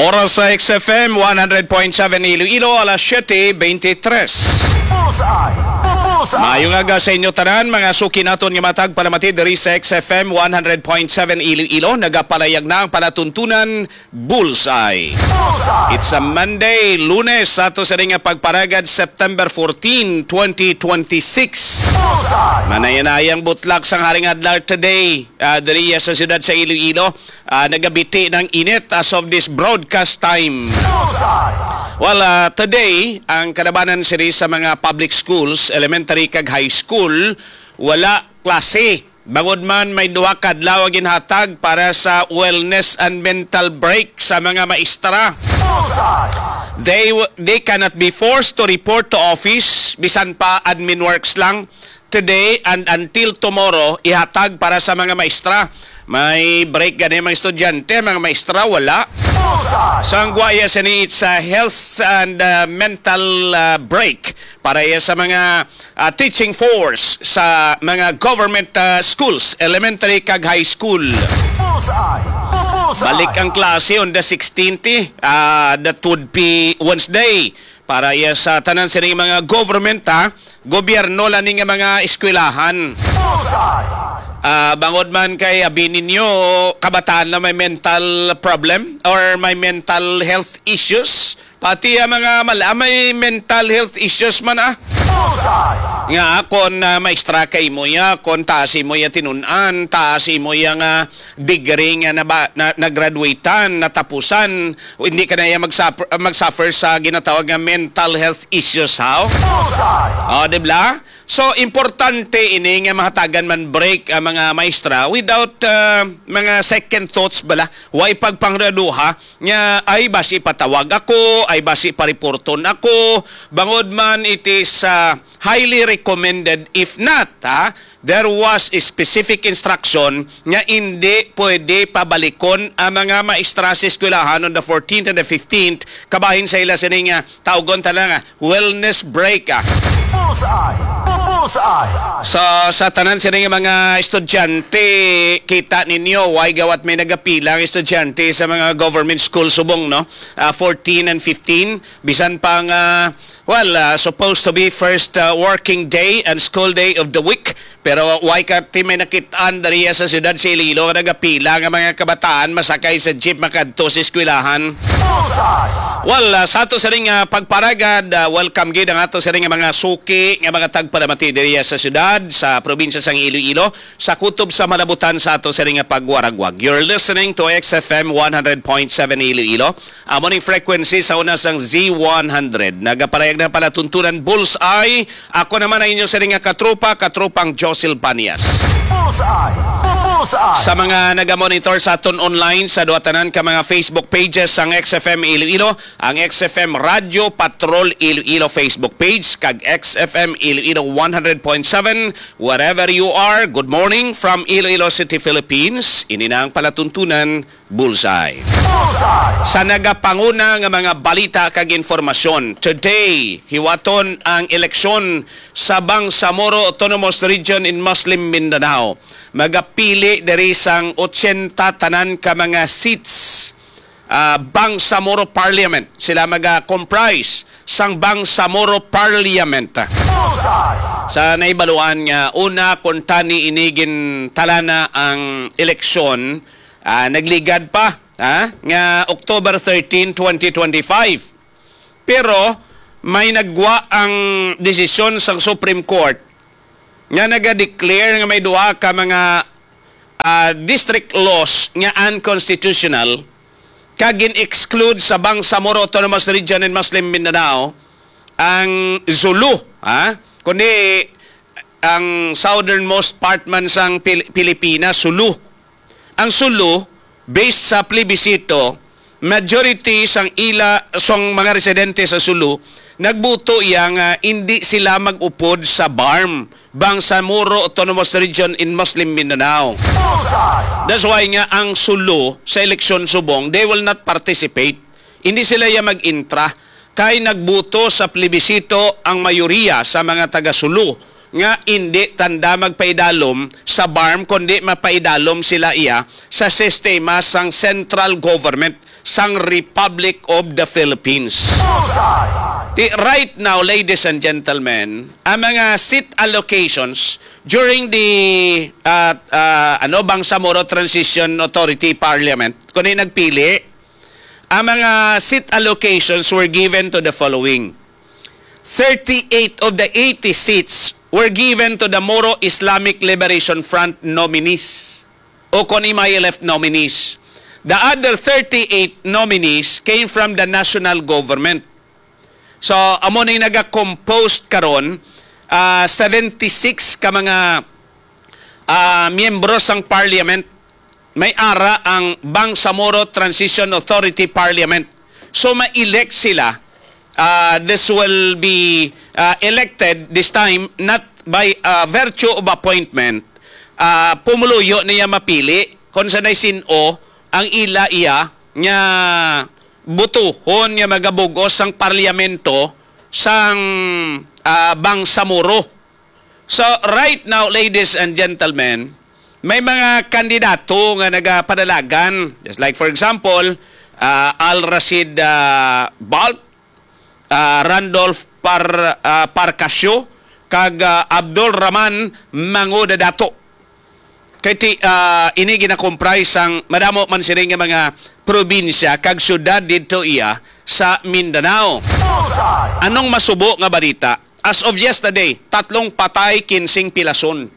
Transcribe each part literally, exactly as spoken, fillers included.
Oras sa X F M one hundred point seven Iloilo, alas siyete beintitres. Bullseye! Bullseye! Maayong aga sa inyo tanan, mga suki naton nga matag palamati diri sa X F M one hundred point seven Iloilo. Nagapalayag na ang palatuntunan Bullseye. Bullseye! It's a Monday, Lunes, sa ato sa ring nga pagparagad, September fourteen, twenty twenty-six. Bullseye! Manaya-nayang butlak sang haring adlaw today, ah, diri sa siyudad sa Iloilo. Ah, nagabiti ng init as of this broadcast time. Bullseye! Well, ah, today, ang kalabanan sini sa mga public schools, elementary kag high school, wala klase. Bangod man may duha ka adlaw ginhatag para sa wellness and mental break sa mga maestra. Bullseye! They w- they cannot be forced to report to office, bisan pa admin works lang. Today and until tomorrow, ihatag para sa mga maestra. May break gani mga estudyante, mga maestra wala. Bullseye! Sang gwaya sini, it's a health and, uh, mental, uh, break para iya sa mga, uh, teaching force sa mga government, uh, schools, elementary kag high school. Bullseye! Bullseye! Balik ang klase on the sixteenth, eh. Ah, that would be Wednesday. Para iya sa tanan sining mga government, ha, gobyerno lang ni nga mga eskwelahan. Bullseye! Ah, bangod man kay abi ninyo, kabataan na may mental problem or may mental health issues. Pati ang mga mal-, ah, may mental health issues man, ah. Bullseye! Nga kon, ah, maestra ka imo ya, kon taas imo ya tinun-an, taas imo ya nga degree nga naba-, na, nagraduatean, natapusan, hindi ka na iya magsuffer, magsuffer sa ginatawag nga mental health issues, how? Bullseye! Oh, di ba? So, importante ini nga mahatagan man break ang mga maestra without, ah, mga second thoughts bala. Way pagpangraduha nga, ay, basi patawag ako, ay, basi pariporton ako. Bangod man, it is, ah, highly recommended. If not, ha, there was a specific instruction nga hindi pwede pabalikon ang mga maestra sa eskwelahan on the fourteenth and the fifteenth, kabahin sa ila sining, ah, tawgon ta lang, ah, wellness break, ah. Bullseye! Bullseye! So, sa tanan sining mga estudyante, kita ninyo, why gawat may nagapila ang estudyante sa mga government school subong, no? Ah, fourteen and fifteen, bisan pa nga, well, ah, supposed to be first, ah, working day and school day of the week, pero why ka ti may nakit-an diri sa siyudad sa Iloilo nga nagapila nga mga kabataan masakay sa jeep makadto sa eskwelahan? Bullseye! Well, ah, sa ato sining, ah, pagparagad, ah, welcome gid ang ato sining mga suki nga mga tagpalamati diri sa siyudad, sa probinsya sang Iloilo, sa kutob sa malabutan sa ato sining nga pagwaragwag. You're listening to X F M one hundred point seven Iloilo. Amo ning frequency sa una sang Z one hundred. Nagapalayag na palatuntunan Bullseye. Ako naman ang inyo sining nga katropa, katropang Josil Banias. Bullseye! Bullseye! Sa mga nagamonitor sa aton online sa duha tanan ka mga Facebook pages, ang X F M Iloilo, ang X F M Radio Patrol Iloilo Facebook page, kag X F M Iloilo one hundred point seven, wherever you are, good morning from Iloilo City, Philippines. Ini na ang palatuntunan Bullseye. Bullseye! Sa nagapanguna nga mga balita kag informasyon, today, hiwaton ang eleksyon sa Bangsamoro Autonomous Region in Muslim Mindanao. Magapili diri sang ochenta tanan ka mga seats, ah, Bangsamoro Parliament. Sila maga-comprise sang Bangsamoro Parliament. Bullseye! Sa naibaluan nga una, kung tani ini gintalana ang eleksyon, ah, nagligad pa, ha, nga October thirteen, twenty twenty-five. Pero may nagwa ang desisyon sang Supreme Court nga naga-declare nga may duha ka mga, ah, district laws nga unconstitutional, kag gin-exclude sa Bangsamoro Autonomous Region in Muslim Mindanao ang Sulu, ha? Kundi ang southernmost part man sang Pil-, Pilipinas, Sulu. Ang Sulu, based sa plebisito, majority sang ila, sang mga residente sa Sulu, nagbuto iya nga indi sila mag-upod sa BARMM, Bangsamoro Autonomous Region in Muslim Mindanao. Bullseye! That's why nga ang Sulu sa eleksyon subong, they will not participate. Hindi sila ya mag-intra. Kay nagbuto sa plebisito ang mayoriya sa mga taga-Sulu nga indi tanda magpaidalom sa BARMM, kundi mapaidalom sila iya sa sistema sang central government sang Republic of the Philippines. Bullseye! Di, right now, ladies and gentlemen, ang mga seat allocations during the, uh, uh, ano, Bangsamoro Transition Authority Parliament, kung nagpili, ang mga seat allocations were given to the following. Thirty-eight of the eighty seats were given to the Moro Islamic Liberation Front nominees o kon M I L F nominees. The other thirty-eight nominees came from the national government. So, amo na yung naga-composed karon, ah, seventy-six ka mga, ah, miyembro sang parliament may ara ang Bangsamoro Transition Authority Parliament. So, ma-elect sila. Ah, this will be, ah, elected this time not by, ah, virtue of appointment. Ah, pumuluyo niya mapili kung sanay sin-o ang ila iya nga butuhon nga magabugos sang parliamento sang, ah, Bangsamoro. So, right now, ladies and gentlemen, may mga kandidato nga nagapadalagan. Just like, for example, ah, Al Rashid, ah, Balt, ah, Randolph Par-, ah, Parcasio, kag, ah, Abdul Rahman Mango Dadato. Kay ti, ah, ini ginakomprise sang madamo man sini nga mga probinsya kag syudad didto iya sa Mindanao. Bullseye! Anong masubo nga balita? As of yesterday, tatlong patay, kinsing pilason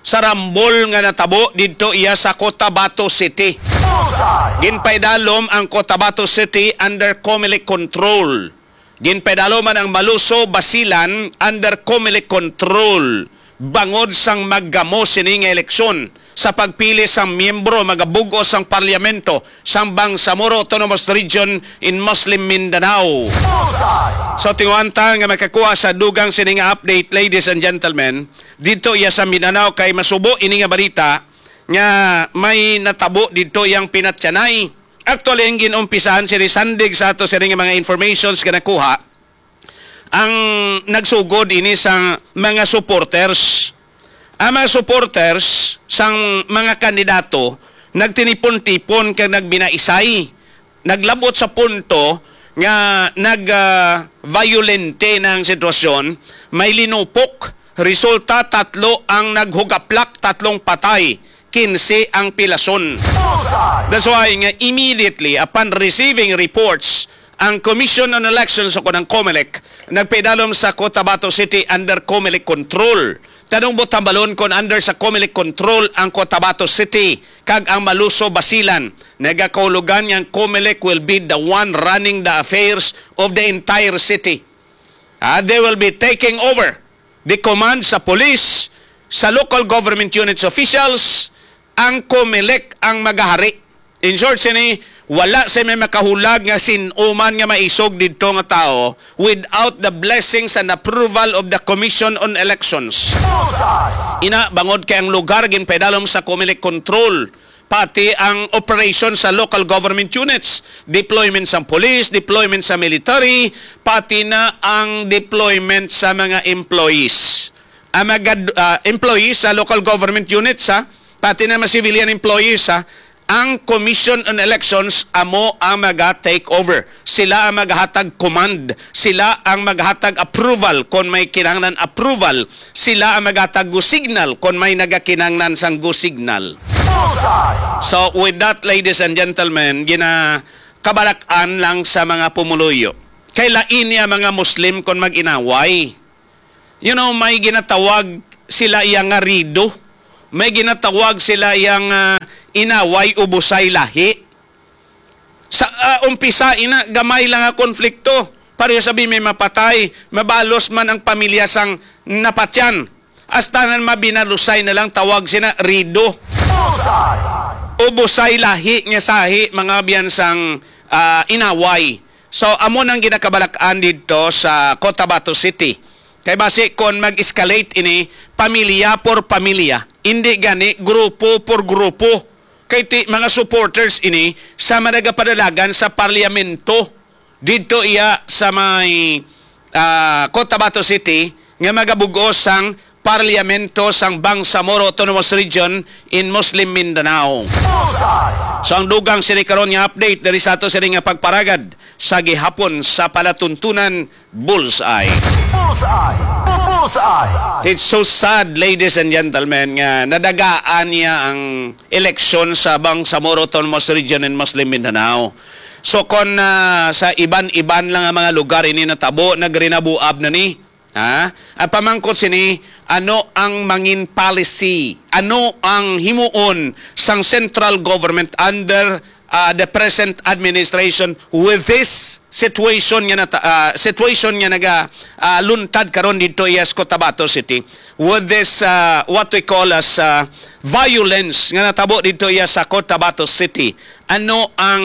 sa rambol nga natabo didto iya sa Cotabato City. Bullseye! Ginpaidalom ang Cotabato City under Comelec control. Ginpaidalom man ang Maluso, Basilan under Comelec control bangod sang maggamo sini nga eleksyon sa pagpili sang miyembro magabug-os sang parliamento sang Bangsamoro Autonomous Region in Muslim Mindanao. Bullseye! So, tinguhanta nga makakuha sa dugang sini nga update, ladies and gentlemen, dito iya sa Mindanao, kay masubo ini nga balita nga may natabo dito yang pinatyanay. Actually, ang ginumpisahan sini sandig sa ato sini nga mga informations nga nakuha, ang nagsugod ini sa mga supporters. Ang mga supporters sang mga kandidato nagtinipon-tipon kag nagbinaisay, naglabot sa punto nga nag, ah, violente na ang sitwasyon, may linupok. Resulta, tatlo ang naghugaplak, tatlong patay, kinse ang pilason. Bullseye! That's why nga immediately upon receiving reports, ang Commission on Elections o kanang Comelec nagpaidalom sa Cotabato City under Comelec control. Tanong mo tambalon kung under sa Comelec control ang Cotabato City kag ang Maluso, Basilan. Nagakahulugan nga ang Comelec will be the one running the affairs of the entire city. Ah, they will be taking over the command sa police, sa local government units officials, ang Comelec ang magahari. In short, sini, wala sa may makahulag nga sin-o man nga maisog didto nga tao without the blessings and approval of the Commission on Elections. Bullseye! Ina, bangod kay ang lugar ginpaidalom sa Comelec control, pati ang operation sa local government units, deployment sa police, deployment sa military, pati na ang deployment sa mga employees. Ang mga, ah, employees sa local government units, ha? Pati na mga civilian employees, ha? Ang Commission on Elections amo ang maga-take over. Sila ang maghatag command. Sila ang maghatag approval kon may kinahanglan approval. Sila ang maghatag go signal kon may nagakinahanglan sang go signal. Bullseye! So, with that, ladies and gentlemen, ginakabalak-an lang sa mga pumuluyo. Kay lain niya mga Muslim kon mag-inaway. You know, may ginatawag sila iya nga rido. May ginatawag sila iya nga inaway, ubusay lahi. Sa, ah, umpisa, ina, gamay lang nga konflikto. Pareho sabi may mapatay, mabalos man ang pamilya sang napatyan. Hasta na mabinalusay na lang tawag sina rido. Bullseye! Ubusay lahi nga sahi, mga biyan sang, ah, inaway. So, amo nang ginakabalak-an didto sa Cotabato City. Kay basi kon mag-escalate ini, pamilya por pamilya, indi gani grupo por grupo. Kay ti, mga supporters ini sa managapadalagan sa parliamento didto iya sa may, ah, Cotabato City nga magabugos sang Parlamento sang Bangsamoro Autonomous Region in Muslim Mindanao. Bullseye! So, ang dugang sini karon nga update diri sa ato sini nga pagparagad sa gihapon sa palatuntunan, Bullseye. Bullseye! Bullseye! It's so sad, ladies and gentlemen, nga nadagaan niya ang eleksyon sa Bangsamoro Autonomous Region in Muslim Mindanao. So, kon, ah, sa iban-iban lang nga mga lugar ini natabo, nagrinabuab na ni. Ha? Ang pamangkot sini, ano ang mangin policy? Ano ang himuon sang central government under, ah, the present administration with this situation nga nata-, ah, situation nga naga, ah, luntad karon dito iya sa Cotabato City? With this, ah, what we call as, ah, violence nga natabo dito iya sa Cotabato City? Ano ang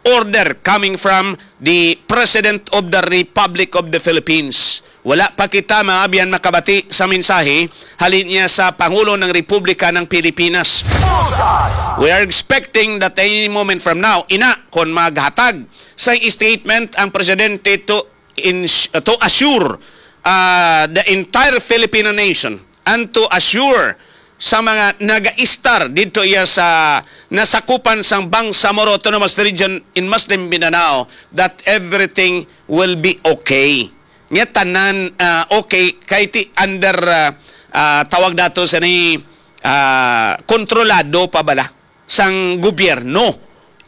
order coming from the President of the Republic of the Philippines? Wala pa kita, mga abyan, makabati sa mensahe halin niya sa Pangulo ng Republika ng Pilipinas. Bullseye! We are expecting that any moment from now, ina, kon maghatag sa statement ang presidente to ins-, to assure, ah, the entire Filipino nation and to assure sa mga nagaistar dito iya sa nasakupan sang Bangsamoro Autonomous Region in Muslim Mindanao that everything will be okay. Nga tanan, ah, okay kay ti under, ah, ah, tawag nato sa ni, ah, kontrolado pa bala sang gobyerno.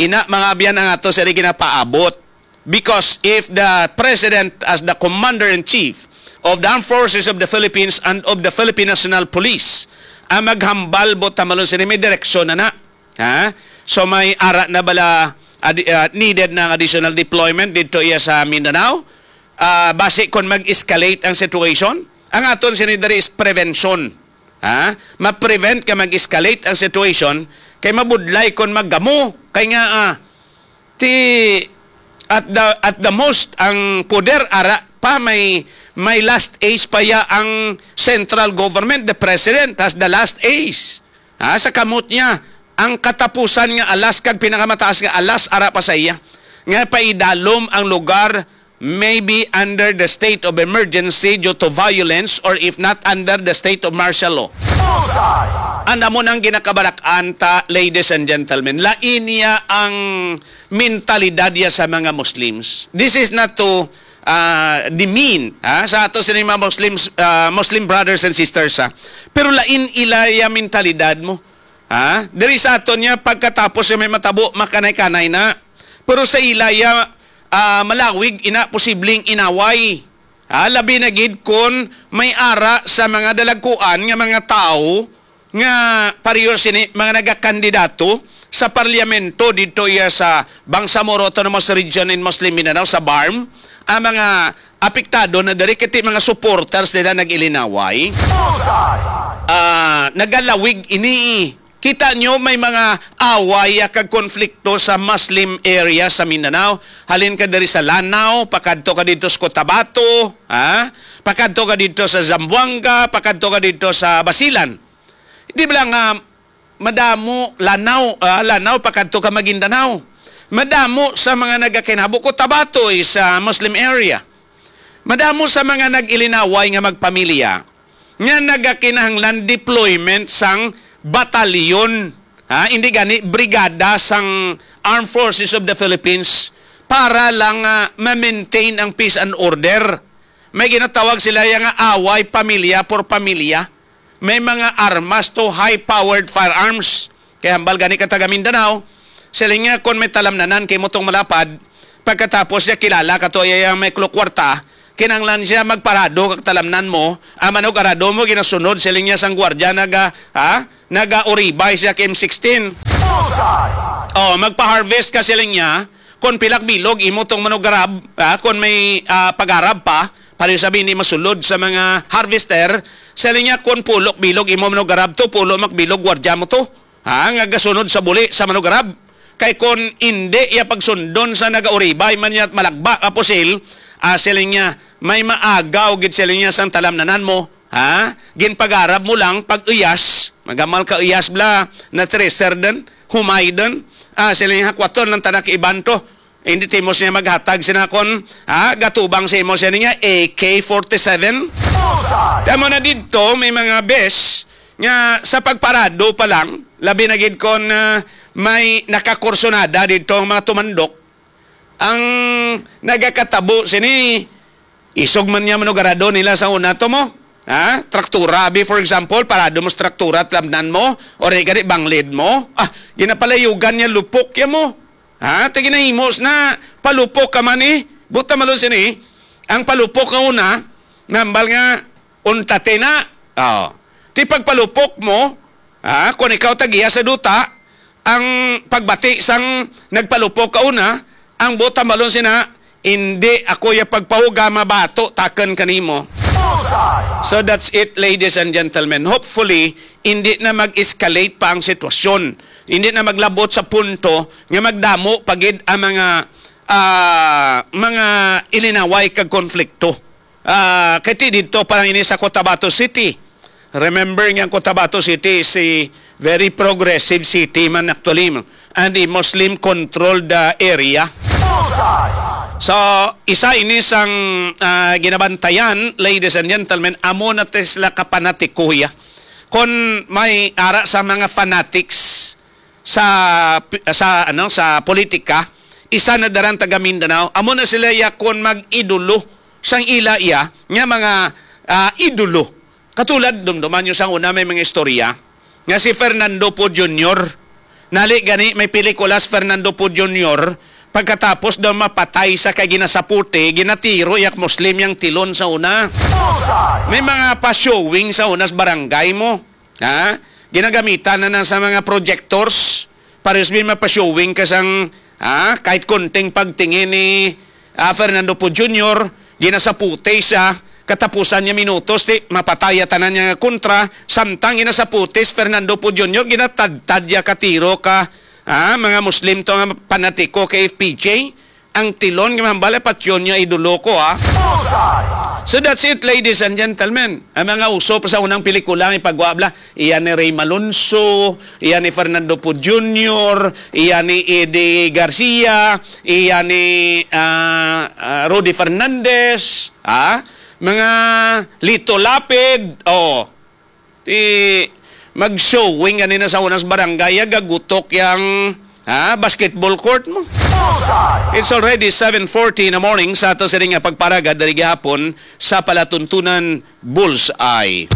Ina, mga abyan, ang ato sa ginapaabot. Because if the President, as the Commander-in-Chief of the Armed Forces of the Philippines and of the Philippine National Police, ang maghambal, buot hambal sini, may direksyon na na. Ha? So, may ara na bala, adi-, ah, needed na ang additional deployment dito iya sa Mindanao? Ah, basi kung mag-escalate ang situation, ang aton sini diri is prevention. Ha? Ma-prevent ka mag-escalate ang situation kay mabudlay kon maggamo. Kay nga, ah, ti at the, at the most, ang poder ara pa may, may last ace pa ya ang central government, the president has the last ace. Ha? Sa kamot niya, ang katapusan nga alas kag pinakamataas nga alas ara pa sa iya. Nga paidalom ang lugar maybe under the state of emergency due to violence or if not under the state of martial law. Bullseye! Ang amo nang ginakabalak-an ta, ladies and gentlemen, lain niya ang mentalidad niya sa mga Muslims. This is not to, ah, demean, ha, sa ato sini mga Muslims, ah, Muslim brothers and sisters, ha. Pero lain ilaya mentalidad mo. Ha? Diri sa aton niya, pagkatapos niya may matabo, makanay-kanay na. Pero sa ilaya, ah, malawig ina posibleng inaway. Ha? Labi na gid kon may ara sa mga dalagkuan nga mga tawo nga pareho sini mga nagakandidato sa parliamento dito iya sa Bangsamoro Autonomous Region in Muslim Mindanao, sa BARMM, ang mga apektado na diri kay ti mga supporters nila nag-ilinaway. Bullseye! Ah, nagalawig ini. Kita nyo, may mga away kag konflikto sa Muslim area sa Mindanao. Halin ka diri sa Lanao, pakadto ka dito sa Cotabato, ha? Pakadto ka dito sa Zamboanga, pakadto ka dito sa Basilan. Di ba lang, ah, madamo Lanao, ah, Lanao pakadto ka Maguindanao. Madamo sa mga nagakinabo, Cotabato is a Muslim area. Madamo sa mga nag-ilinaway nga magpamilya nga nagakinahanglan deployment sang batalyon, ha, hindi gani brigada sang Armed Forces of the Philippines para lang, ah, ma-maintain ang peace and order. May ginatawag sila ya nga away pamilya por pamilya. May mga armas to, high-powered firearms. Kay hambal gani ka taga Mindanao, siling niya, kon may talamnanan kay mo tong malapad, pagkatapos niya kilala ka to, iya may kwarta, kinanglan siya magparado kag talamnan mo, ang manug-arado mo ginasunod, siling niya, sang gwardiya naga, ha? Naga-uribay siya kay M sixteen. Bullseye! Oh, magpa-harvest ka, siling niya, kon pilak bilog imo tong manug-arab, ha? Kon may, ah, pag-arab pa, pareho sabi ni masulod sa mga harvester, siling niya, kon pulok bilog imo manug-arab to, pulo makbilog gwardiya mo to. Ha, nga gasunod sa buli sa manug-arab. Kay kon indi iya pagsundon sa nagauribay man niya malagba nga pusil, ah, siling niya, may maagaw gid siling niya sang talamnanan mo. Ha? Ginpagarab mo lang pag uyas, magamal ka uyas bla, na tracer din, humay din. Ah, siling niya, hakwaton lang tanak iban to. Hindi timos niya maghatag sina kon, ha, gatubang sa imo siya niya A K forty-seven. Bullseye! Tama na didto, may mga bes nga sa pagparado pa lang, labi na gid kon, ah, may nakakursunada didto ang mga tumandok. Ang nagakatabo sini, isog man niya manugarado nila sa una to mo. Ha? Traktura, abi, for example, parado mo sa traktura, lamnan mo, o di gani banglid mo. Ah, ginapalayugan niya lupok ya mo. Ha? Ti ginahimos na palupok ka man eh. Buta malon sini, ang palupok nga una, nambal nga untate na. Oh. Ti pagpalupok mo, ha? Kung ikaw tagiya sa duta, ang pagbati sang nagpalupok ka una, ang buta malon sina, "Indi ako ya pagpahuga mabato takon kanimo." Bullseye! So that's it, ladies and gentlemen. Hopefully, hindi na mag-escalate pa ang sitwasyon. Hindi na maglabot sa punto nga magdamo pa gid ang mga, ah, mga ilinaway kag konflikto. Ah, kay ti didto pa lang ini sa Cotabato City. Remember nga ang Cotabato City is a very progressive city man actually, and a Muslim-controlled, ah, area. Bullseye! So, isa ini sang, ah, ginabantayan, ladies and gentlemen, amo na ti sila kapanatiko, ya. Kon may ara sa mga fanatics sa, sa, ano, sa politika, isa na daran taga Mindanao, amo na sila ya kon mag-idolo sang ila ya nga mga, ah, idolo. Katulad, dumduman nyo sang una may mga istorya nga si Fernando Poe Junior, nali gani may pelikula si Fernando Poe Junior, pagkatapos daw mapatay sa kay ginasaputi, ginatiro yak Muslim yang tilon sa una. Bullseye! May mga pa-showing sa una sa barangay mo. Ha? Ginagamitan na na sa mga projectors. Pares bin mapa-showing ka sang, ha? Kahit konting pagtingin ni, ah, Fernando Poe Junior, ginasaputi siya, katapusan niya minutos, ti, mapataya tanan niya nga kontra, samtang ginasaputi si Fernando Poe Junior, ginatadtad niya ka tiro ka, ha? Mga Muslim to nga panatiko kay F P J. Ang tilon nga mahambal, patyon niya idolo ko, ha? Bullseye! So that's it, ladies and gentlemen. Ang mga uso pa sa unang pelikula, ang ipagwa bala, iya ni Rey Malonzo, iya ni Fernando Poe Junior, iya ni Eddie Garcia, iya ni, ah, ah, Rudy Fernandez, ha? Mga Lito Lapid, oh. Ti, mag-showing ganina sa unas barangay, ya, gagutok yang, ha, basketball court mo. Bullseye! It's already seven forty in the morning sa ato sini nga pagparagad diri gihapon sa palatuntunan Bullseye.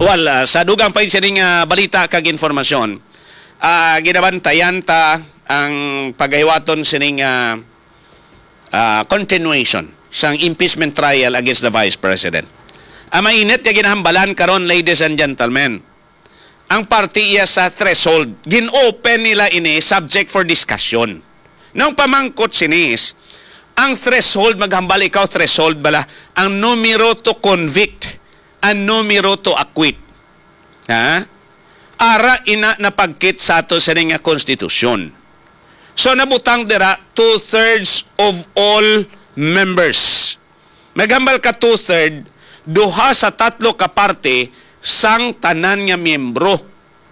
Well, ah, sa dugang pa sini nga balita kag informasyon, ah, ginabantayan ta ang pagahiwaton sini nga ah, continuation sang impeachment trial against the Vice President. Ang mainit nga ginahambalan karon, ladies and gentlemen, ang parte iya sa threshold. Gin-open nila ini subject for discussion. Nang pamangkot sinis, ang threshold, maghambal ikaw, threshold bala, ang numero to convict, ang numero to acquit. Ha? Ara ina napagkit sa ato sini nga konstitusyon. So, nabutang dira two-thirds of all members. Maghambal ka two-third, duha sa tatlo ka parte sang tanan nga miyembro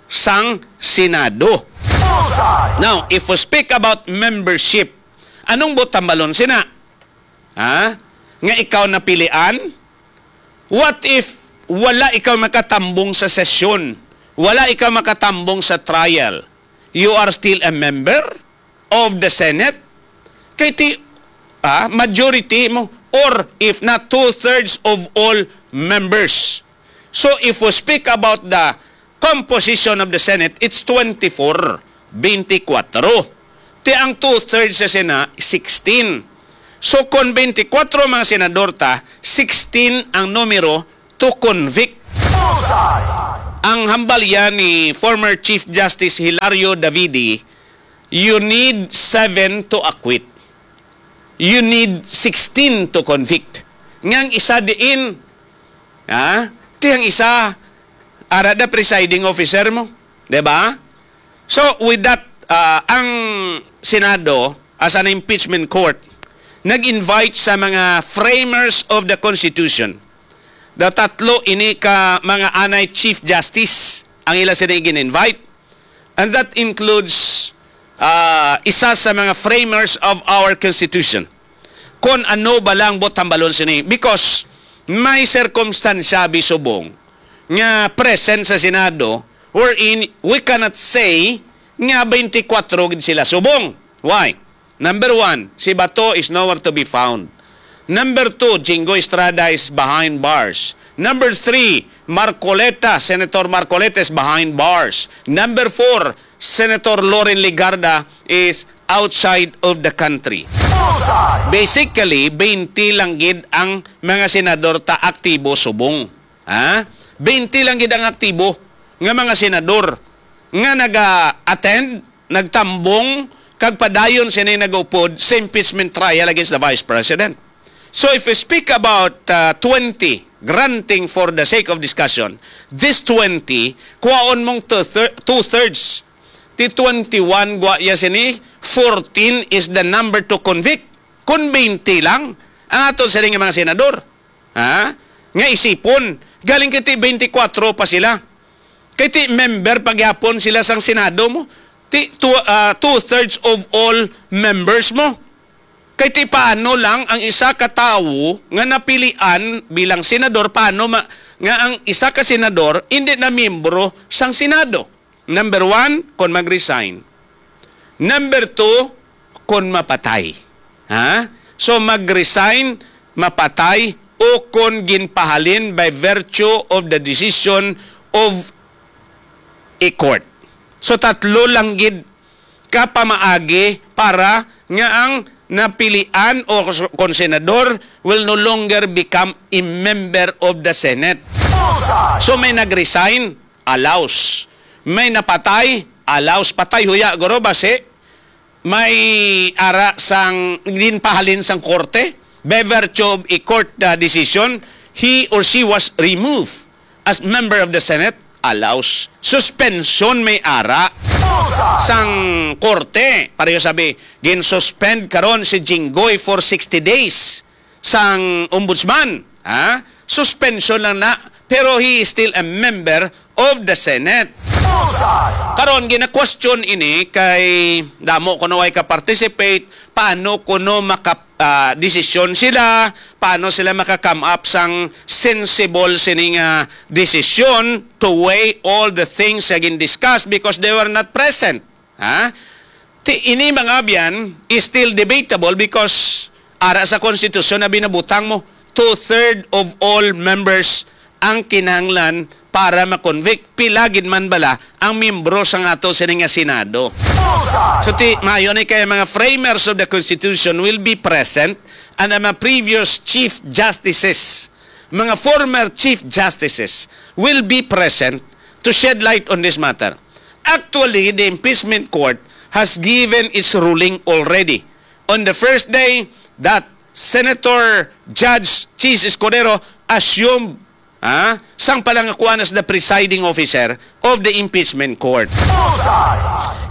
sang Senado. Bullseye! Now, if we speak about membership, anong buot hambalon sina? Ha? Nga ikaw napilian? What if wala ikaw makatambong sa sesyon? Wala ikaw makatambong sa trial? You are still a member of the Senate? Kay ti, ah, majority mo, or if not, two-thirds of all members. So, if we speak about the composition of the Senate, it's twenty-four, twenty-four. Ti ang two-thirds sa Sena, sixteen. So, kung twenty-four mga senador ta, sixteen ang numero to convict. Bullseye! Ang hambal yan ni former Chief Justice Hilario Davidi, you need seven to acquit. You need sixteen to convict. Nga ang isa diin, ha? Ti ang isa, ara da presiding officer mo. Di ba? So, with that, ah, ang Senado, as an impeachment court, nag-invite sa mga framers of the Constitution. The tatlo ini ka mga anay Chief Justice ang ila sini gin-invite. And that includes ah, isa sa mga framers of our Constitution. Kon ano ba lang bot hambalon sini? Because may sirkumstansya, abi, subong nga present sa Senado, wherein we cannot say nga twenty-four gid sila subong. Why? Number one, si Bato is nowhere to be found. Number two, Jinggoy Estrada is behind bars. Number three, Marcoleta, Senator Marcoleta is behind bars. Number four, Senator Loren Legarda is outside of the country. Basically, twenty lang gid ang mga senador ta aktibo subong. Ha? Twenty lang gid ang aktibo nga mga senador nga naga-attend, nagtambong, kag padayon sini nagaupod sa impeachment trial against the Vice President. So if we speak about, uh, twenty, granting for the sake of discussion, this twenty, kuhaon mong two-thir-, two-thirds. Ti twenty-one gwa ya sini, fourteen is the number to convict. Kung twenty lang ang ato sini nga mga senador, ha? Nga isipon, galing kay ti twenty-four pa sila. Kay ti member pa gyapon sila sang Senado mo. Ti two, ah, two-thirds of all members mo. Kay ti paano lang ang isa ka tawo nga napilian bilang senador, paano ma-, nga ang isa ka senador hindi na miyembro sang Senado? Number one, kon mag-resign. Number two, kon mapatay. Ha? So, mag-resign, mapatay, o kon ginpahalin by virtue of the decision of a court. So, tatlo lang gid ka pamaagi para nga ang napilian o kon senador will no longer become a member of the Senate. So, may nag-resign, allows. May napatay, allows. Patay huya, guro, basi may ara sang ginpahalin sang korte. By virtue of a court, uh, decision, he or she was removed as member of the Senate, allows. Suspension may ara sang korte. Pareho sabi, gin-suspend karon si Jinggoy for sixty days sang ombudsman. Ha? Suspension lang na, pero he is still a member of the Senate. Karon, gina-question ini kay damo kuno way ka-participate, paano kuno maka-, ah, desisyon sila, paano sila maka-come up sang sensible sini nga desisyon to weigh all the things nga gin-discuss because they were not present. Ha? Ti, ini, mga abyan, is still debatable because ara sa konstitusyon na binabutang mo, two-third of all members ang kinahanglan para ma-convict. Pila gid man bala ang miyembro sa ato sini nga Senado? So, ti, maayo ni kay mga framers of the Constitution will be present and ang mga previous Chief Justices, mga former Chief Justices will be present to shed light on this matter. Actually, the impeachment court has given its ruling already. On the first day, that Senator Judge Chiz Escudero assumed, ah, sang palangakuan as the presiding officer of the impeachment court.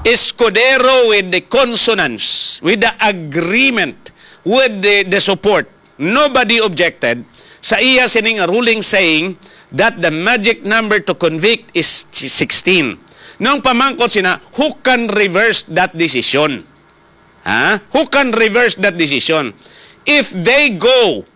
Escudero with the consonance, with the agreement, with the, the support. Nobody objected sa iya sining ruling saying that the magic number to convict is sixteen. Nang pamangkot sina, who can reverse that decision? Ha? Who can reverse that decision? If they go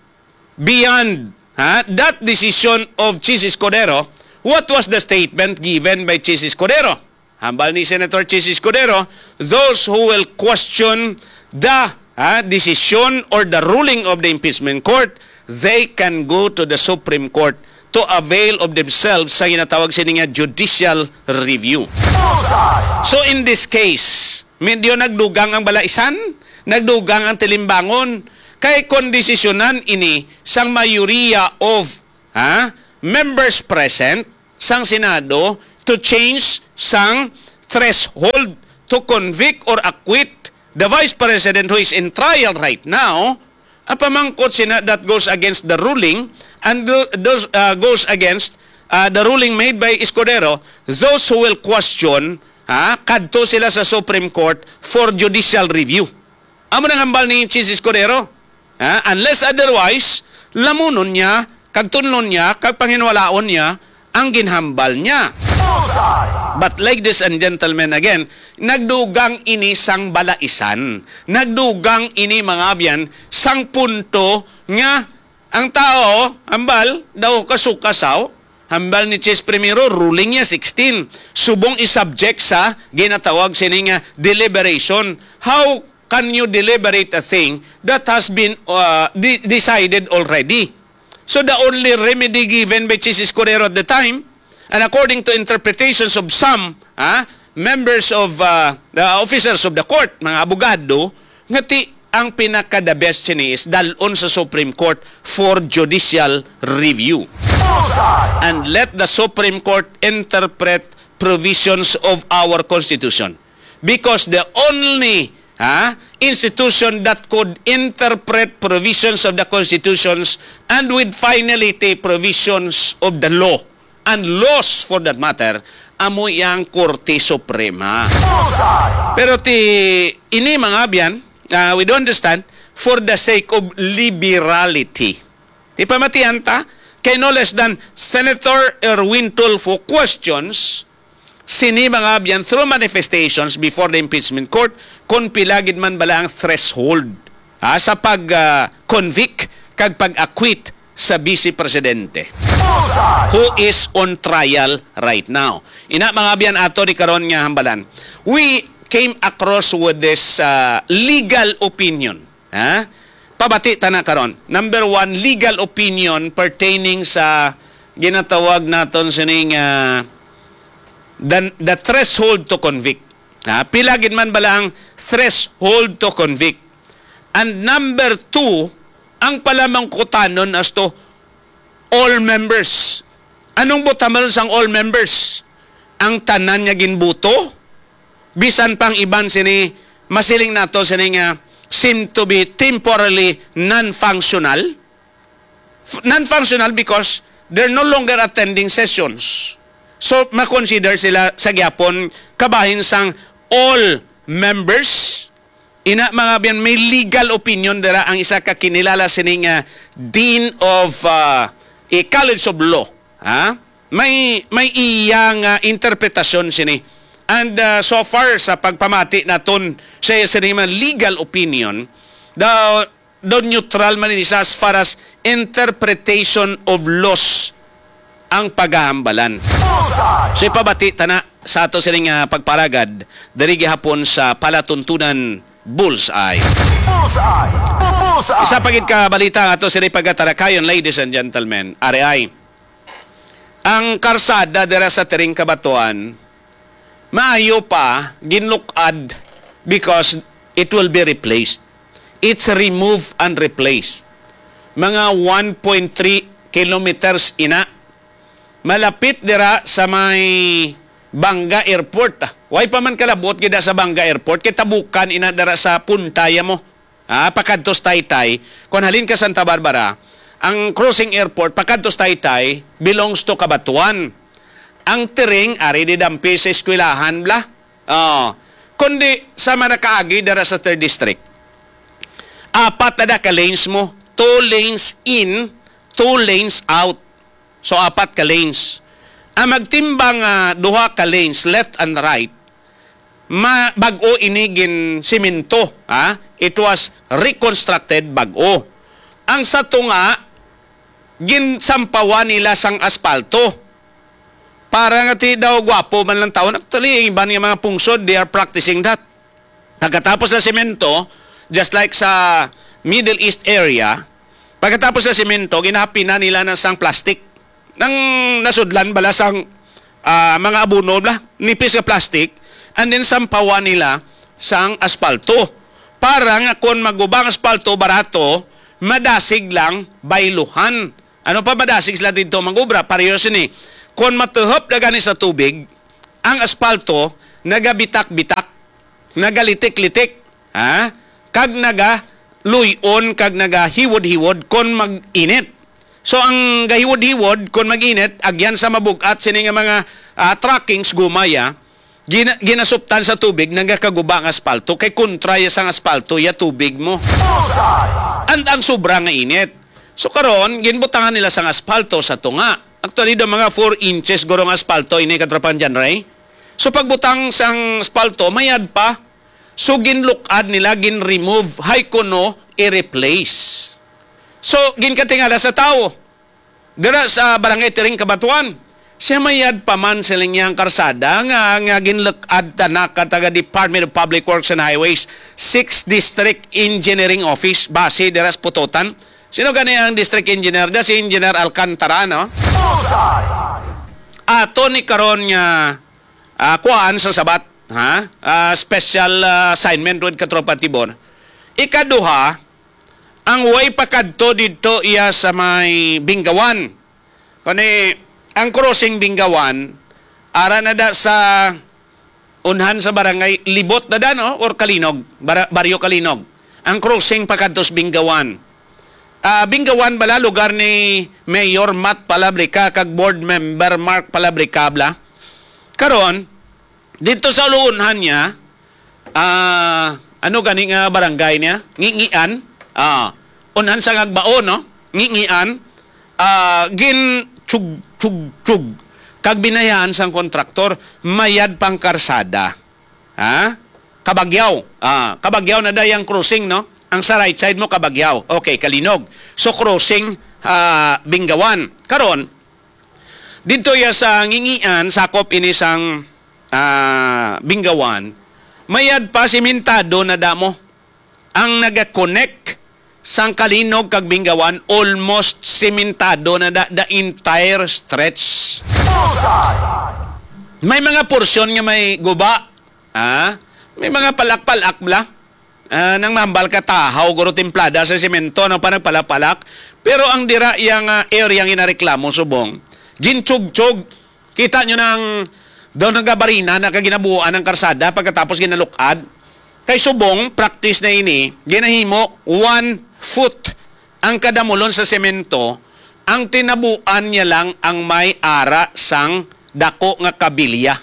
beyond, ha, that decision of Chiz Escudero, what was the statement given by Chiz Escudero? Hambal ni Senator Chiz Escudero, those who will question the, ha, decision or the ruling of the impeachment court, they can go to the Supreme Court to avail of themselves sa ginatawag sini nga judicial review. So in this case, medyo nagdugang ang balaisan, nagdugang ang tilimbangon, kay kon desisyonan ini sang mayoriya of, ha, members present sang Senado to change sang threshold to convict or acquit the Vice President who is in trial right now, ang pamangkot sina, that goes against the ruling and do, does, uh, goes against, uh, the ruling made by Escudero. Those who will question, ha, kadto sila sa Supreme Court for judicial review. Amo nang hambal ni Chiz Escudero. Ha? Unless otherwise, lamunon niya, kag tunlon niya, kag panginwalaon niya ang ginhambal niya. Bullseye! But ladies and gentlemen, again, nagdugang ini sang balaisan. Nagdugang ini, mga abyan, sang punto nga ang tao, hambal, daw kasukasaw, hambal ni Chis Primero, ruling niya sixteen. Subong i-subject sa ginatawag sini nga deliberation. How can you deliberate a thing that has been uh, de- decided already? So the only remedy given by Chis Escudero at the time, and according to interpretations of some ah, members of uh, the officers of the court, mga abogado, nga ti ang pinaka the best sini is dalon sa Supreme Court for judicial review. And let the Supreme Court interpret provisions of our Constitution. Because the only ha, institution that could interpret provisions of the Constitutions and with finality provisions of the law and laws for that matter, amo yang Korte Suprema. Pero ti ini, mga abyan, ah, we do understand, for the sake of liberality. Ti pamatian ta, kay no less than Senator Erwin Tulfo questions sini, mga abyan, through manifestations before the impeachment court, kon pila gid man bala ang threshold, ah, sa pag, ah, convict kag pag-acquit sa Vice Presidente who is on trial right now. Ina, mga abyan, ato ni karon nga hambalan, we came across with this uh, legal opinion. Ha? Pabati ta na karon. Number one, legal opinion pertaining sa ginatawag naton sining uh, the, the threshold to convict. Ha? Pila gid man bala ang threshold to convict? And number two, ang palamangkutanon as to all members. Anong buot hambalon sang all members? Ang tanan nga ginbuto, bisan pang iban sini, masiling nato sini nga seem to be temporarily non-functional. F- non-functional because they're no longer attending sessions. So, ma-consider sila sa gyapon kabahin sang all members. Ina, mga abyan, may legal opinion dira ang isa ka kinilala sini nga Dean of uh, a College of Law. Ha? May may iya nga interpretasyon sini. And uh, so far sa pagpamati naton sa iya sini nga legal opinion, the daw neutral man ini siya as far as interpretation of laws ang pagahambalan. Bullseye! So, ipabati ta na sa ato sining ah, pagparagad diri gihapon sa palatuntunan Bullseye. Bullseye! Bullseye! Isa pa gid ka balita nga ato sini pagatalakayon, ladies and gentlemen. Ari ay, ang karsada dira sa Tiring Cabatuan, maayo pa ginlukad because it will be replaced. It's remove and replace. Mga one point three kilometers ina. Malapit dira sa may Banga Airport. Way pa man kalabot gid sa Banga Airport, kay tabukan ina dira sa Punta ya mo. Ah, pakadto sa Taytay, kon halin ka Santa Barbara, ang crossing airport pakadto sa Taytay belongs to Cabatuan. Ang Tiring ari didampi sa eskwelahan bala. Oh, kundi sa manakaagi dira sa third district. Apat na da ka lanes mo, two lanes in, two lanes out. So apat ka lanes. Ang magtimbang nga duha ka lanes left and right, ma bag-o ini gin simento, ha? It was reconstructed bag-o. Ang sa tunga, ginsampawan nila sang aspalto. Para nga ti daw gwapo man lang taon. Actually, ang iban nga mga pungsod, they are practicing that. Pagkatapos sa semento, just like sa Middle East area, pagkatapos sa semento, ginahapinan nila na sang plastic. Nang nasudlan bala sang ah, mga abono bala, nipis nga plastic, and then sampawan nila sang aspalto. Para nga kon maguba ang aspalto, barato, madasig lang bayluhan. Ano pa madasig sila didto mag-obra? Pareho sini. Kon matuhop na gani sa tubig, ang aspalto nagabitak-bitak, nagalitik-litik, ha? Kag nagaluy-on kag nagahiwod-hiwod kon mag-init. So ang gahiwod-hiwod kon mag-init, agyan sa mabug-at sini nga mga ah, trackings gumaya, gina- ginasuptan sa tubig, nagakaguba ang aspalto kay kontra ya sang aspalto ya tubig mo. Bullseye! And ang sobra nga init. So karon, ginbutangan nila sang aspalto sa tunga. Actually, do mga four inches guro nga aspalto ini, Katropan John Ray. So pagbutang sang espalto, mayad pa. So ginlukad nila, gin-remove, hay kuno i-replace. So ginkatingala sa tawo dira sa Barangay Tiring, Cabatuan. Siya, mayad pa man, siling niya, ang karsada nga, nga ginlukad ta na ka taga Department of Public Works and Highways, Sixth District Engineering Office, base dira sa Pototan. Sino gani ang District Engineer? Da si Engineer Alcantara, no? Bullseye! Ato ni karon nga, ah, kuhaan sa sabat, ha? Ah, special, ah, assignment with Katropa Tibor. Ikaduha, ang way pakadto didto iya sa may Bingawan. Kani, ang crossing Bingawan, ara na da sa unhan sa barangay Libot na da, no? Or Kalinog, Bara-, Baryo Kalinog. Ang crossing pakadto sa Bingawan. Ah, Bingawan bala lugar ni Mayor Matt Palabrica kag Board Member Mark Palabrica bala. Karon, dito sa uluunhan niya, ah, ano gani nga barangay niya? Ngingian. Ah, unhan sa Ngagbaon, no? Ngingian. Ah, gin chug, chug, chug. Kag binayaan sang kontraktor, mayad pang karsada. Ha? Kabagyaw. Ah, Kabagyaw na dayang crossing, no? Ang sa right side mo, Kabagyaw. Okay, Kalinog. So, crossing, ah, Bingawan. Karon, didto ya sa Ngingian, sakop ini sang, ah, Bingawan, mayad pa, simentado na damo. Ang naga-connect sang Kalinog kag Bingawan, almost simentado na da, the entire stretch. Bullseye! May mga porsyon nga may guba. Ah, may mga palak-palak bala. Ah, nang mambal ka tahaw, guro, timplada sa semento, no, pa nagpalak-palak. Pero ang dira yang, ah, area nga inareklamo subong, ginchugchog. Kita nyo nang daw nagabarina na kag ginabuuan ang karsada pagkatapos ginalukad. Kay subong, practice na ini, ginahimo one foot ang kadamulon sa semento, ang tinabuan niya lang ang may ara sang dako nga kabilya.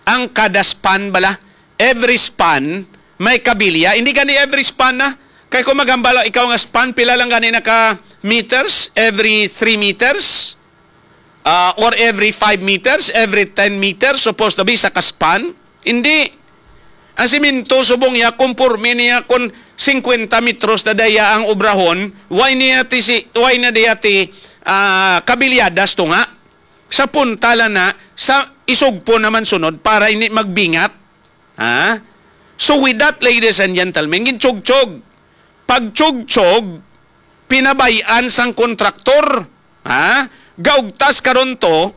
Ang kada span bala, every span may kabilya. Hindi gani every span na. Kay kung magambala ikaw nga span, pila lang gani na ka meters? Every three meters? Ah, or every five meters? Every ten meters? Supposed to be sa ka span? Hindi. Ang siminto, subong niya, kumporme niya kung singkwenta metros na daya ang obrahon, why niya ti si, why na daya ti, ah, kabilyadas to nga? Sa punta lang na, sa isugpo naman sunod para hindi magbingat. Ha? So with that, ladies and gentlemen, ginchugchog. Pagchugchog, pinabay-an sang kontraktor. Ha? Gaugtas karon to,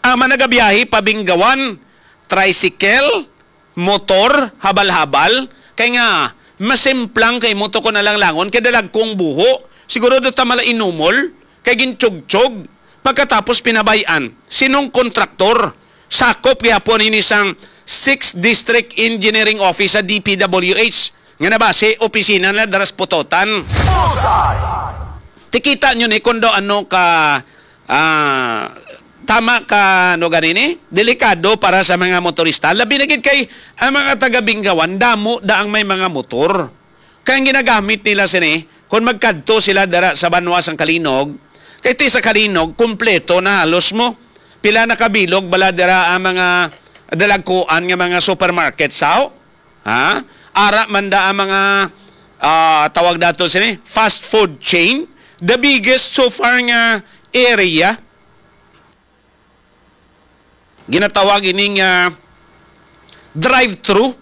ang mga nagabiyahe pa Bingawan, tricycle, motor, habal-habal. Kay nga, masimplang kay mo to ko nalanglangon, kay dalagkong buho. Siguro do ta mala inumol, kay ginchugchog. Pagkatapos pinabay-an, sinong kontraktor? Sakop gyapon ini sang Sixth District Engineering Office sa D P W H, nga nabase opisina na dira sa Pototan. Bullseye! Tikita nyo ni kung daw ano ka, ah, tama ka, ano gani ni? Delikado para sa mga motorista. Labi na gid kay ang mga taga Bingawan, damo da ang may mga motor. Kaya ang ginagamit nila sini, kung magkadto sila dira sa banwa sang Kalinog, kay ti sa Kalinog, kompleto na halos mo. Pila na kabilog bala dira ang mga dalagkuan nga mga supermarket, sao? Ha? Ara man da ang mga, ah, tawag dato sini, fast food chain. The biggest so far nga area. Ginatawag ini nga drive-thru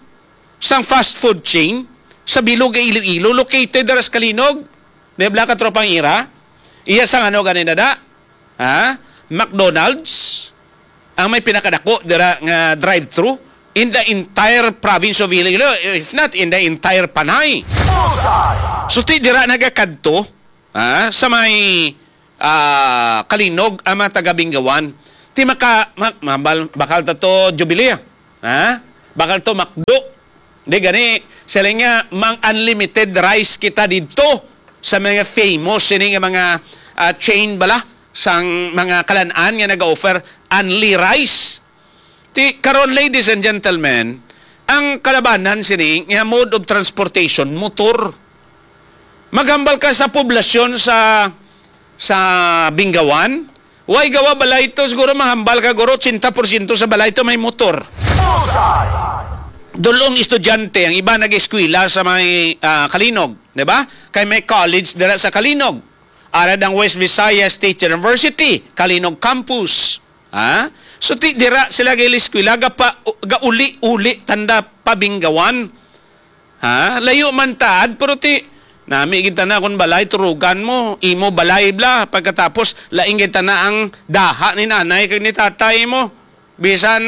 sang fast food chain sa bilog nga Iloilo, located dira sa Kalinog. Di bala, Katropang Ira? Iya sang ano gani na da? Ha? McDonald's ang may pinakadako dira nga drive-thru in the entire province of Iloilo, if not in the entire Panay. Bullseye! So, ti dira nagakadto, ha, sa may, ah, Kalinog ang mga taga Bingawan. Ti maka-, ma-, mabal-, bakal ta to Jubilee, ha? Bakal to McDo. Di gani, sila nga, mang unlimited rice kita didto sa mga famous ini nga mga, ah, chain bala sang mga kalan-an nga naga-offer unli rice. Ti karon, ladies and gentlemen, ang kalabanan sini nga mode of transportation, motor. Maghambal ka sa poblasyon sa, sa Bingawan, Way gawa balay to, siguro mahambal ka, guro, ochenta porsyento sa balay to may motor. Bullseye! Dulong estudyante, ang iba nag-eskwela sa may, ah, Kalinog, di ba? Kay may college dira sa Kalinog. Ara ang West Visayas State University, Kalinog Campus. Ha? So, ti, dira sila gili eskwela, gapa, gauli-uli tanda pabinggawan. Ha? Layo man taad, pero ti, nami gid tana kon balay, turugan mo, imo balay bla, pagkatapos, laing gid tana ang daha ni nanay kag ni tatay mo. Bisan,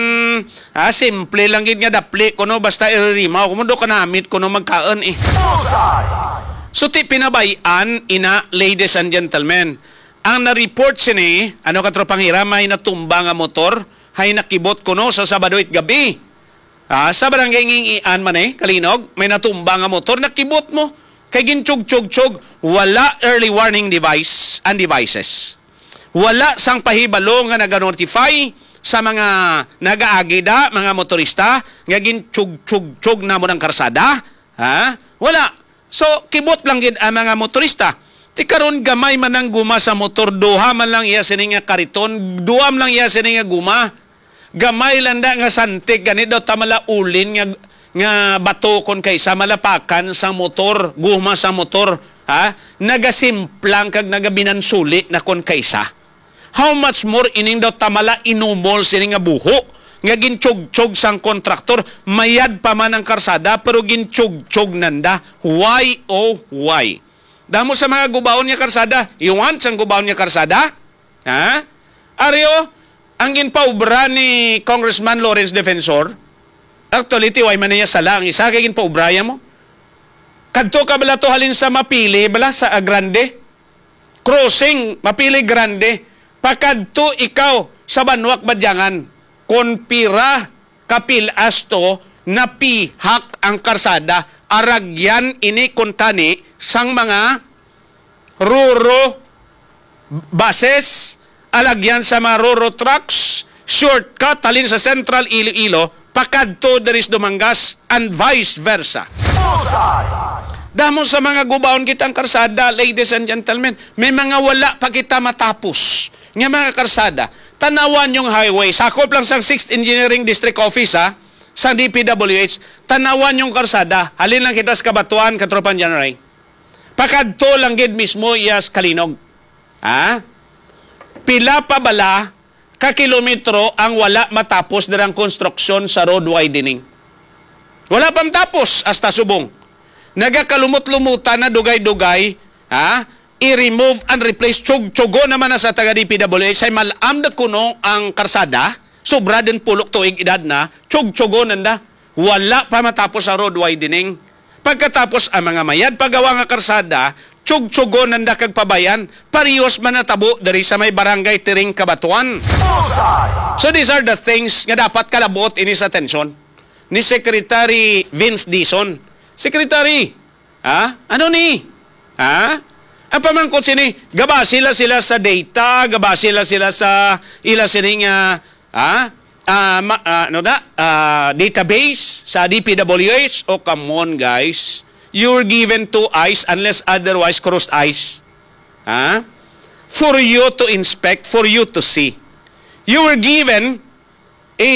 ha, simple lang gid nga dapli kuno, basta iririmaw ko mo, do kanamit kuno magkaon eh. Bullseye! So, ti pinabay-an ina, ladies and gentlemen. Ang na-report sini, ano, katropang Hira, may natumba nga motor, hay nakibot kuno sa Sabado it gabi. Ah, sa barangay Ngingian man eh, Kalinog, may natumba nga motor, nakibot mo. Kay ginchug-chug-chug, wala early warning device and devices. Wala sang pahibalo nga naga-notify sa mga nagaagi da, mga motorista, nga ginchug-chug-chug na mo ng karsada. Ha? Wala. So, kibot lang gid ang mga motorista. Ti karon gamay man ang guma sa motor, duha man lang iya sini nga kariton, duha man lang iya sini nga guma. Gamay lang da nga santik, gani daw ta malaulin nga, nga bato kon kaysa malapakan sang motor, guma sa motor, ha? Nagasimplang kag nagabinansuli na kon kaysa. How much more ining daw ta mala inumol sini nga buho nga ginchugchog sang kontraktor, mayad pa man ang karsada pero ginchugchog nanda. Why, oh, why? Damo sa mga gubaon nga karsada. You want sang gubaon nga karsada? Ha? Ari, oh, ang ginpaubra ni Congressman Lawrence Defensor, actually, ti way man niya sala ang isa kay ginpaubra ya mo. Kadto ka bala to halin sa Mapili, bala sa Agrande. Crossing, Mapili Grande. Pakadto ikaw sa Banwak Badyangan. Kon pira ka pilas to, napihak ang karsada. Aragyan ini kuntani sang mga Roro buses, alagyan sa mga Roro trucks, shortcut halin sa Central Iloilo, pakadto diri sa Dumangas, and vice versa. Bullseye! Damo sa mga gubaon kita ang karsada, ladies and gentlemen. May mga wala pa kita matapos nga mga karsada. Tanawan yung highway. Sakop lang sa Sixth Engineering District Office, ha, sa D P W H. Tanawan yung karsada. Halin lang kita sa Cabatuan, Katropang John Ray. Pakadto lang gid mismo iya sa Kalinog. Ha? Pila pa bala ka kilometro ang wala matapos dirang konstruksyon sa road widening? Wala pa matapos hasta subong. Nagakalumot-lumutan na dugay-dugay, ha? I-remove and replace, tsug-tsugo naman na sa taga D P W H, ay malam da kuno ang karsada, sobra din pulok tuig edad na, tsug-tsugo nanda. Wala pa matapos ang road widening. Pagkatapos, ang mga mayad pagawa nga karsada, tsugtsugon nanda kag pabayan, parehos man natabo diri sa may Barangay Tiring, Cabatuan. Bullseye! So these are the things nga dapat kalabuot ini sa atensyon ni Secretary Vince Dizon. Secretary, ha? Ano ni? Ha? Ang pamangkot sini, gabasi la sila sa data, gabasi la sila sa ila sini nga, ha? Ah, ma-, ah, ano da? Ah, database sa D P W H. Oh, come on, guys. You were given two eyes unless otherwise crossed eyes. Ha? For you to inspect, for you to see. You were given a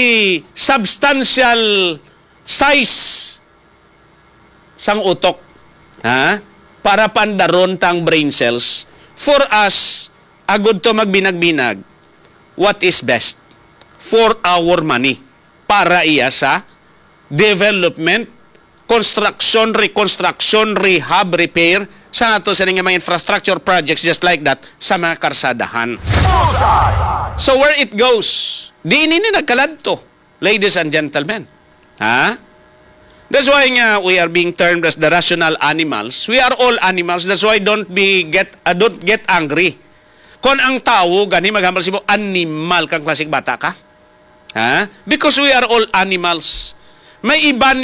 substantial size sang utok, ha? Para pandaron ta ang brain cells. For us, agud to magbinag-binag, what is best for our money? Para iya sa development, construction, reconstruction, rehab, repair, sa ato sini nga mga infrastructure projects just like that, sa mga karsadahan. Bullseye! So where it goes, diin ini nagkaladto, ladies and gentlemen. Ha? That's why nga we are being termed as the rational animals. We are all animals. That's why don't be get, uh, don't get angry. Kon ang tawo gani maghambal simo, animal kang klaseng bata ka. Ha? Because we are all animals. May iban